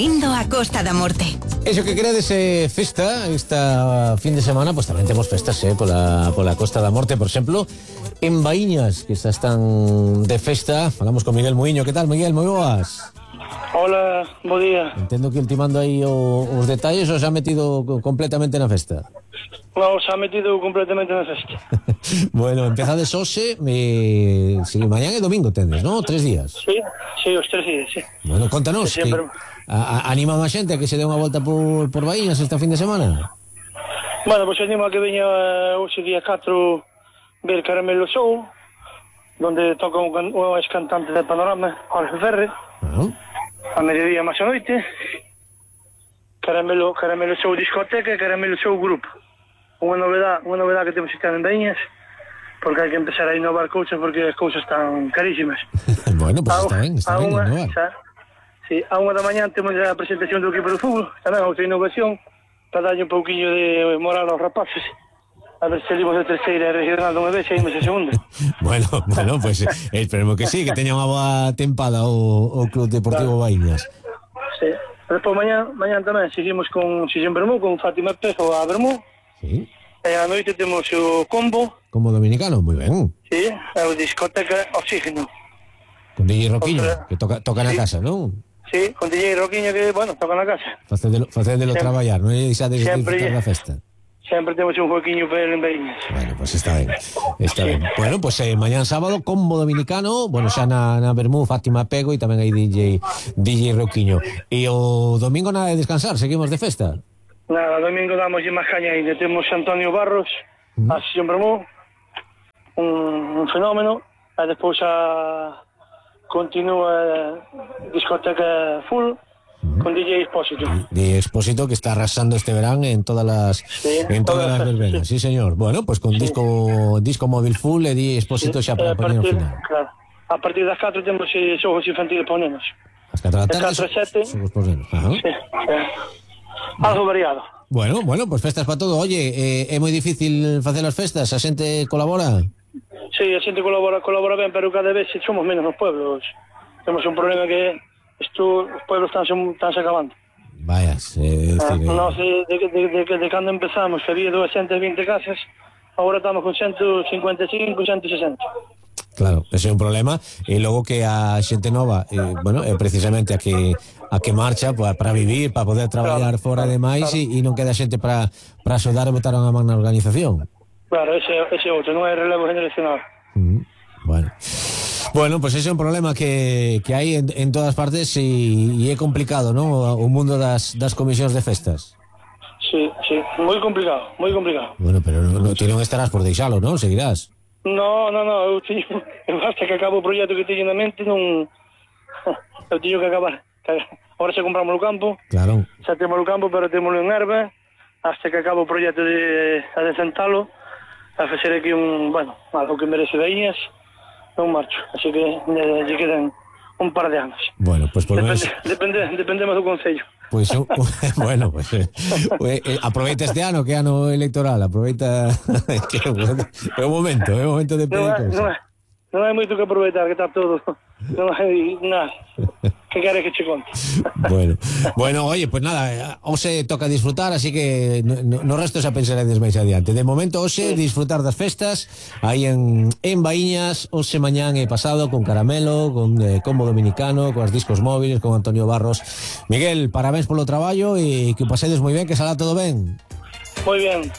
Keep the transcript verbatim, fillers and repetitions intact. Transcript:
vindo a Costa da Morte. Eso que queredes eh, festa esta fin de semana, pues tamén temos festas eh, pola, pola Costa da Morte, por exemplo, en Baíñas, que xa están de festa. Falamos con Miguel Muiño. Que tal, Miguel? Moi boas. Hola, bo día. Entendo que ultimando aí o, os detalles ou se ha metido completamente na festa? No, se ha metido completamente na festa. Bueno, empezades hoxe, me... sí, mañán e domingo tendes, ¿no? Tres días. Sí, sí, os tres días, sí. Bueno, contanos, que, Sempre... a, a, anima a xente a que se dé unha volta por, por Baíñas esta fin de semana? Bueno, pois pues animo a que veña uh, hoxe día catro ver Caramelo Show, donde toca un, un ex-cantante de Panorama, Jorge Ferre. Ah. A mediodía máis a noite. Caramelo, Caramelo Show discoteca e Caramelo Show grupo. Unha novedade, unha novedade que temos este ano en Baíñas, porque hai que empezar a innovar cousas porque as cousas están carísimas. Bueno, pues a, está ben, está ben innovar. Xa, sí, a unha da mañán temos a presentación do equipo de fútbol, tamén outra innovación, para darlle un pouquinho de moral aos rapaces. A ver se salimos de terceira regional dunha vez e imos a segunda. Bueno, bueno, pues eh, esperemos que sí, que teña unha boa tempada o, o Club Deportivo claro. Baíñas. Sí. Despois mañá, mañá tamén seguimos con Sillón Bermú, con Fátima Pejo a Bermú. Sí. E a noite temos o Combo. Combo dominicano, moi ben. Sí, é o discoteca Oxígeno. Con D J Roquiño, Otra... que toca, toca sí. na casa, non? Sí, con D J Roquiño que, bueno, toca na casa. Facedelo, facedelo traballar, non é xa de disfrutar da festa. Sempre temos un joaquiño para el en Baíñas. Bueno, pues está ben, está sí. ben. Bueno, pues eh, mañán sábado, Combo dominicano, bueno, xa na, na Bermú, Fátima Pego e tamén hai D J D J Roquiño. E o domingo nada de descansar, seguimos de festa. Nada, domingo damos máis caña ainda. Temos Antonio Barros, mm. a Sillón Bermú, un, un fenómeno, e despois a continúa a discoteca full, con D J Expósito. De Expósito, que está arrasando este verán en todas las sí, en todas, todas las verbenas, sí. sí señor. Bueno, pues con sí. disco disco móvil full e D J Expósito xa sí. para poner o final. Claro. A partir das catro temos eh, xogos infantiles por nenos. As catro da tarde, catro a sete. Xogos por nenos. Ajá. Sí, sí. Algo variado. Bueno, bueno, pues festas para todo. Oye, eh, é moi difícil facer as festas, a xente colabora? Sí, a xente colabora, colabora ben, pero cada vez somos menos nos pueblos. Temos un problema que Esto, os pueblos están, están se acabando. Vayas, eh, ah, decir, no sé, de, de, de, de, de cando empezamos, que había doscientas veinte casas, agora estamos con ciento cincuenta e cinco, ciento sesenta. Claro, ese é un problema. E logo que a xente nova, eh, bueno, é precisamente a que a que marcha para pa vivir, para poder traballar claro, fora claro, de máis claro. e, e non queda xente para para axudar e botar unha man na organización. Claro, ese ese outro, non é relevo generacional. Mm, bueno. Bueno, pues ese é un problema que, que hai en, en todas partes e, e é complicado, non? O, o mundo das, das comisións de festas. Sí, sí, moi complicado, moi complicado. Bueno, pero no, no, ti non estarás por deixalo, non? Seguirás? No, no, no, eu teño, basta que acabo o proxecto que teño na mente, non... Eu teño que acabar. Ahora xa compramos o campo, claro. xa temos o campo, pero temos en erva, hasta que acabo o proxecto de adesentalo, a facer aquí un, bueno, algo que merece Baíñas, non marcho, así que lle, lle quedan un par de anos. Bueno, pues por Depende, menos... depende, dependemos do Concello. Pois, pues, bueno, pues eh, eh, aproveita este ano, que ano electoral, aproveita que é o momento, é o momento de pedir cousas. Non, non hai moito que aproveitar, que está todo, non hai nada. Que queres que che conte? Bueno, bueno, oye, pues nada, hoxe toca disfrutar, así que no, no resto xa pensaredes máis adiante. De momento, hoxe, sí. disfrutar das festas aí en, en Baíñas, hoxe, mañán e pasado, con Caramelo, con eh, Combo dominicano, con os discos móviles, con Antonio Barros. Miguel, parabéns polo traballo e que o pasedes moi ben, que salá todo ben. Moi ben.